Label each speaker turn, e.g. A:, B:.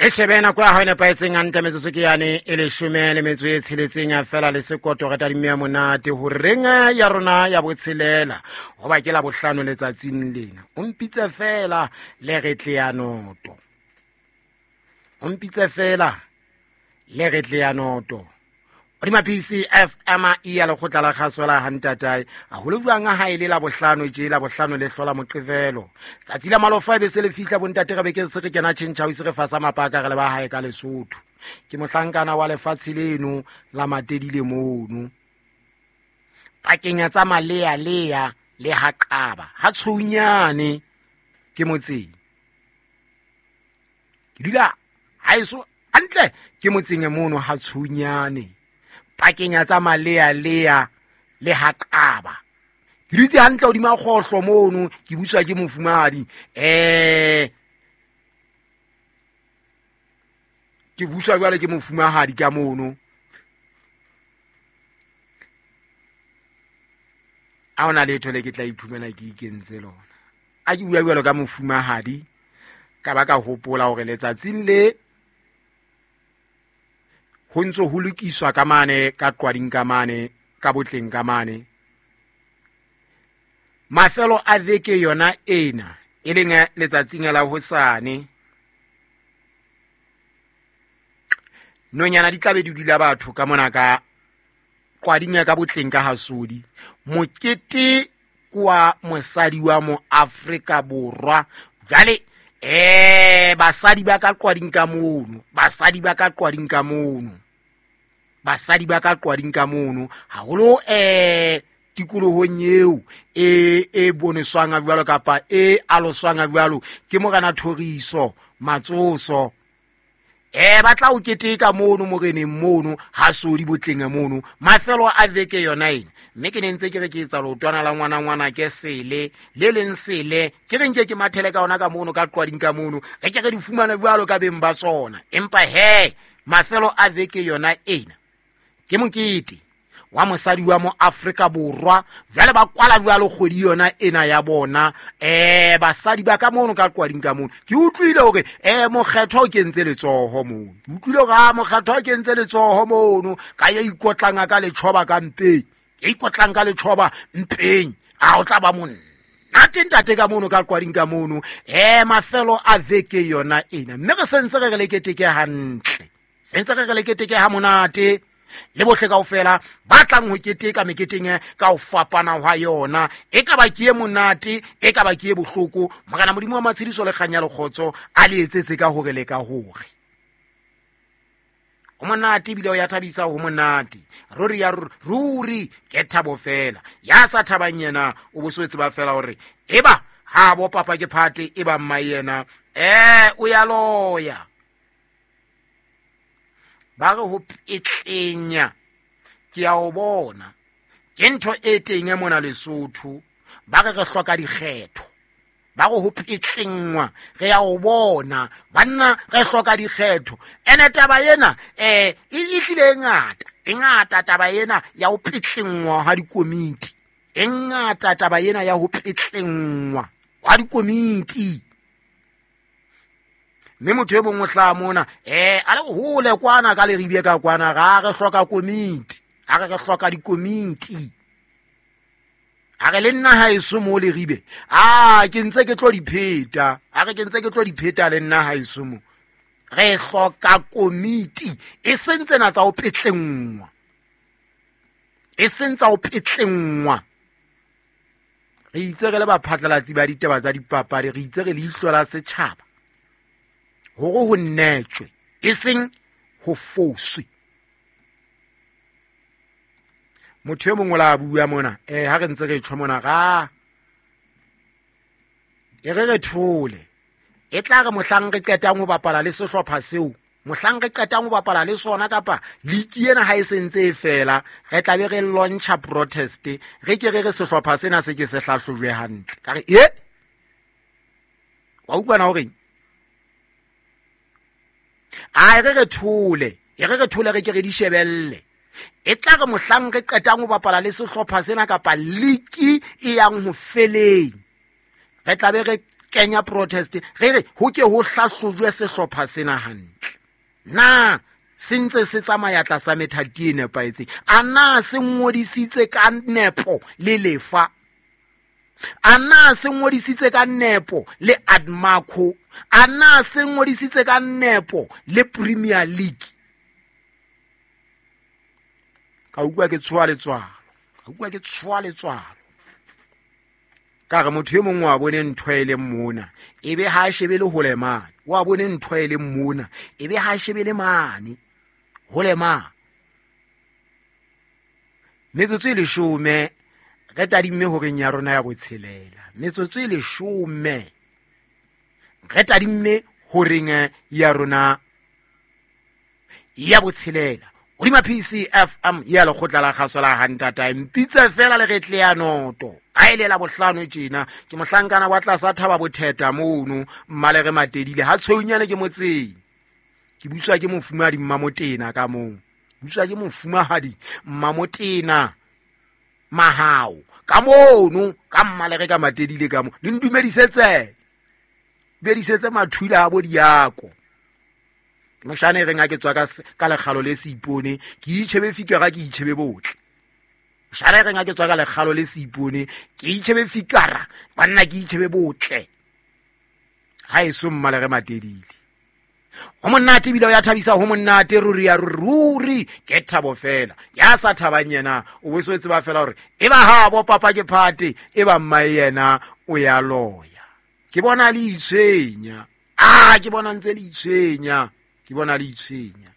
A: E shebe nako ya hao e nepahetseng hantle, metsotso ke yane e leshome le metso e tsheletseng fela le sekoto. Re tadime ya monate horeng ya rona ya botshelela, goba ke la bohlano letsatsing lena. O mpitse fela le re tle ya noto, o mpitse fela le re tle ya noto godima PCFM e ya lekgotla la kgaso la gantatae gaholo jwang ga e le la bohlano tše la bohlano le hlola moqevelo tsatsi la malofa e be se le fihla. Bontate, re be ke se re kena tšhentšha o ise re fasa mapaka re le ba gae ka Lesotho. Ke mohlankana wa lefatshe leno la Matedile mono pakeng tsa Malealea le Haqaba ha Tshounyane, ke motseng ke dula haeso hantle, ke motseng mono ha Tshounyane pakeng tsa Malealea le Haqaba. Ke dutse hantle hodima kgohlo mono, ke buswa ke mofumadi, ke buswa jwale ke mofumahadi ka mono. A ona letho le ke tla iphumana ke ikentse lona. A ke bua jwalo ka mofumahadi, ka ba ka hopola hore letsatsing le ho ntse ho lokiswa ka mane ka Qwading, ka mane ka Botleng, ka mane mafelo a veke yona ena, e leng letsatsing la hosane, nonyana di tlabe di dula batho ka mona ka Qwading ya ka Botleng ka Hasodi. Mokete kwa mosadi wa mo Afrika Borwa. Jwale basadi ba ka Qwading ka mono, basadi ba ka Qwading ka mono, basadi ba ka Qwading ka mono haholo, tikolohong eo e boneswang a jwalo kapa e aloswang a jwalo ke Morena Thoriso Matsoso, ba tla o keteka mono moreneng mono ha Sodi Botleng mono mafelo a veke yona ena. Mme ke ne ntse ke re ke etsa leotwana la ngwana ngwana ke sele le leng sele, ke re nke ke mathele ka ona ka mono ka Qwading ka mono, re ke re di fumane jwalo ka beng ba tsona. Empa he, mafelo a veke yona ena ke mokete wa mosadi wa mo Afrika Borwa. Jwale ba kwala jwalo kgwedi yona ena ya bona, basadi ba ka mono ka Qwading ka mono. Ke utlwile hore mokgethwa o kentse letsoho mono, ke utlwile hore a mokgethwa o kentse letsoho mono ka ya ikotlang ka letjhoba ka mpeng, ya ikotlang ka letjhoba mpeng. A o tla ba monna nate ntate ka mono ka Qwading ka mono, mafelo a veke yona ena. Mme re sentse re re le keteke hantle, sentse re re le keteke ha monate le bohle kaofela ba tlang ho keteka meketeng ka ho fapana hwa yona, e ka ba ke e monate, e ka ba ke e bohloko. Morena Modimo wa matshediso le kganya le kgotso a le etsetse ka hore le ka hore ho monate, ebile o ya thabisa, ho monate ruri ya ruri, ke thabo fela. Ya sa thabang yena o bo so tseba fela hore eba ha bo papa ke phate, e ba mma yena o ya loya. Ba re ho petlenya ke ya o bona ke ntho e teng e mona Lesotho. Ba re re hloka dikgetho, ba re ho petlengwa re ya o bona banna, re hloka dikgetho. Ene taba ena e tlile e ngata, e ngata taba ena ya ho petlengwa ha dikomiti, e ngata taba ena ya ho petlengwa ha dikomiti. Mme motho e mongwe o hlaha mona, a le hole kwana ka Leribie ka kwana, ga re hloka komiti, a re re hloka dikomiti. A re le nna ha eso mo Leribe, a ke ntse ke tlo di pheta, a re ke ntse ke tlo di pheta le nna ha eso mo. Re hloka komiti, e seng tsena tsa ho petlengwa, e seng tsa ho petlengwa. Re itse re le baphatlalatsi ba ditaba tsa dipapadi, re itse re leihlo la setjhaba hore ho nnetjwe, e seng ho foswe. Motho e mongwe la bua mona, ha re ntse re tjho mona, ra e re re thole, e tla re mohlang re qetang ho bapala le sehlopha seo, mohlang re qetang ho bapala le sona kapa liki ena ha e sentse e fela, re tla be re launcha protest, re ke re re sehlopha sena se ke se hlahlojwe hantle. Ka re e wa utlwana horeng, a re re thole, e re re thole, re ke re di shebelle. E tla re mohlang re qetang ho bapala le sehlopha sena kapa liki e yang ho feleng, re tla be re kenya protest, re re ho ke ho hlahlojwe sehlopha sena hantle. Na se ntse se tsamaya tlasa methati e nepahetseng? A na se ngodisitse ka nepo le lefa? A na se ngodisitse ka nepo le Admaco? A na se ngodisitse ka nepo le Premier League? Ka utlwa ke tshoha letswalo, ka utlwa ke tshoha letswalo. Ka re motho e mongwe wa bone ntho e leng mona, e be ha a shebe le hole mane. Wa bone ntho e leng mona, e be ha a shebe le mane, hole mane. Metsotso e 10 re tadimme horeng ya rona ya botshelela. Metsotso e 10 re tadimme horeng ya rona ya botshelela. Hodima PCFM ya lekgotla la kgaso la Hantata. Mpitse fela le re tle ya noto. A e lela bohlano tjena. Ke mohlankana wa tlasa thaba botheta mono, mmalere matedile. Ha tshweunyane ke motseng. Ke butswa ke mofumahadi Mmamotena ka moo. Butswa ke mofumahadi Mmamotena Mahao. Ka mono, ka mmalere ka matedile ka moo. Le ntumedisetse. Dumedisetse mathula a bo diako. Moshane e reng ha ke tswa ka lekgalo le seipone, ke itjhebe fikara, ke itjhebe botle. Moshane e reng ha ke tswa ka lekgalo le seipone, ke itjhebe fikara, banna ke itjhebe botle. Ha eso mmalere matedile. Ho monate ebile o ya thabisa, ho monate ruri ya ruri, ke thabo fela. Ya sa thabang yena, o bo so tseba fela hore e ba ha bo papa ke phate, e ba mmae yena o ya loya. Ke bona le itshwenya. Ah, ke bona ntse le itshwenya. Ke bona le itshwenya.